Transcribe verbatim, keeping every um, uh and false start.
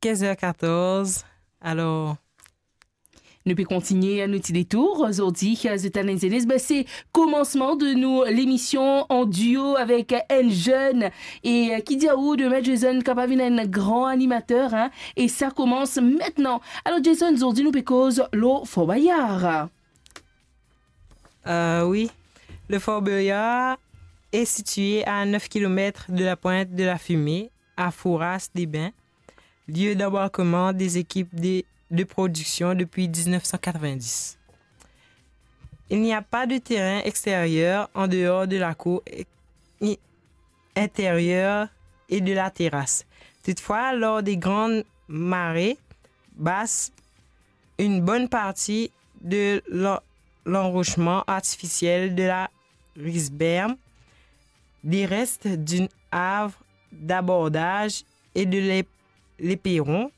Quinze heures quatorze. Alors, nou pe kontigne nou ti detour. Zordi, zot ena enn zenn, be, se komansman de nou lemision an duo avek enn zenn. E, eh, ki dir ou, demin Jason kapav vinn enn gran animater, hein? E sa komans aster. Alor, Jason, zordi nou pe koz lor Fort Boyard. Euh, oui. Le Fort Boyard est situé à neuf kilomètres de la Pointe de la Fumée, à Fouras-des-Bains, lieu d'embarquement des équipes de, de production depuis dix-neuf cent quatre-vingt-dix. Il n'y a pas de terrain extérieur en dehors de la cour i-, intérieure et de la terrasse. Toutefois, lors des grandes marées basses, une bonne partie de l'en-, l'enrochement artificiel de la Risberme, des restes d'une arve d'abordage et de l'ép-, l'éperon